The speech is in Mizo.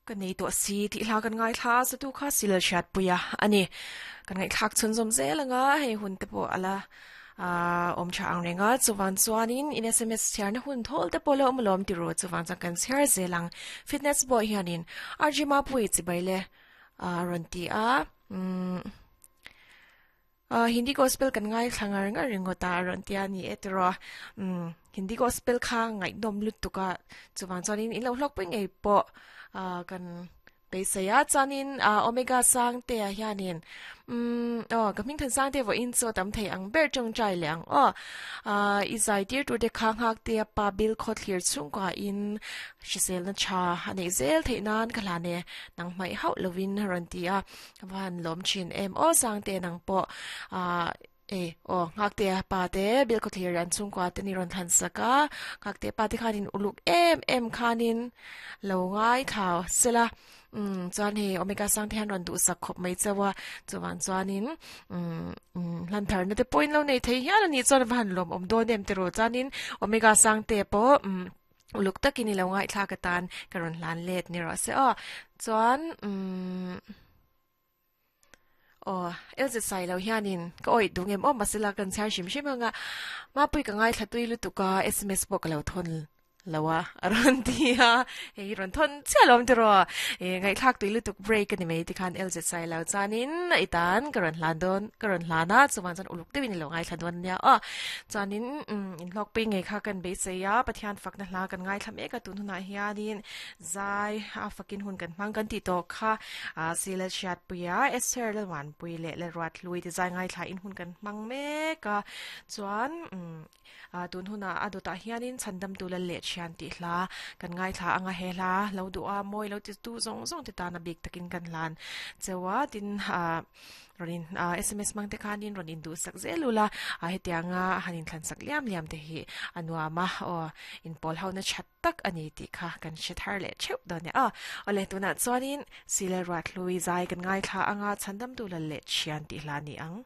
Ka nei tawh si tih hla kan ngaithla a, chatu kha sil hriatpui a a ni. Kan ngaihthlak chhunzawm zel anga hei hun te pawh a la awm tha ang reng a, chuvang chuanin in sms chhiarna hun thawl te pawh la awm alawm ti ru, chuvang chuan kan chhiar zel ang. Fitness pawh hianin RG Mapui chibai le a rawn ti a, umm. Hindi gospel kan ngaithla ngar ngar ringawt a, a rawn ti a ni e tiraw. Umm Hindi gospel kha ngaihnawm lutuk a, chuvang chuanin in lo hlawkpui ngei pawh kan beisei a. Chuanin Omega Sangtea hianin umm aw ka hming than Sangte vawiin chu a tam thei ang ber tawngtai leh ang aw. I zai tir tur te kha nghaktea pa Bill Khawthlir chhungkua in hriselna tha a neih zel theih nan ka hlan e, nang hmaih hauh lovin a rawn ti a. Ka va han lawm thin em aw Sangte nang pawh ah e aw Nghaktea pa te Bilkhawthlir an chhungkua te ni rawn thlan sak a Nghaktea pa te khanin uluk em em khanin lo ngai thlau sela umm chuan hei Omega Sangte hian rawn duhsak khawp mai chauh a chuvang chuanin umm hlan tharna te pawhin lo nei thei hial a nih chuan a va han lawm awm dawn em tiraw chuanin Omega Sangte pawh umm Uluk takin i lo ngaihthlak atan ka rawn hlan let ni rawh se aw. Chuan umm aw LZ sai lo hianin ka awih duh ngem aw mahse la kan chhiar hrim hrim anga Mapui ka ngaithla tui lutuk a sms pawh ka lo thawn lo a a rawn ti a hei hi rawn thawn chiah lo awm tiraw e ngaihthlak tui lutuk break a ni mai tikhan LZ sai lo chuanin i tan ka rawn hlan dawn ka rawn hlan a chuvang chuan uluk deuhin i lo ngaithla dawn ania aw chuanin umm Inhlawkpui ngei kha kan beisei a, Pathian fakna hla kan ngaithla mek a, tun hunah hianin zai a fakin hun kan hmang kan tih tawh kha Sila Hriatpuia, Esther Lalvanpui leh Lalruathlui te zai ngaithla in hun kan hmang mek a, chuan tun hunah a dawtah hianin Chhandamtu Lal leh Thian tih hla kan ngaithla anga he hla lo duh a, mawi lo ti tu zawng zawng te tan a bik takin kan hlan cheu a, tin Rawn in sms hmang te khanin rawn induhsak zel ula, hetianga han inthlansak liam liam te hi a nuam a, aw inpawl ho na that tak a ni tih kha kan hre thar leh theuh dawn e. Aw awle tunah chuanin Sile Ruathlui zai kan ngaithla anga Chhandamtu Lal leh Thian tih hla ni ang.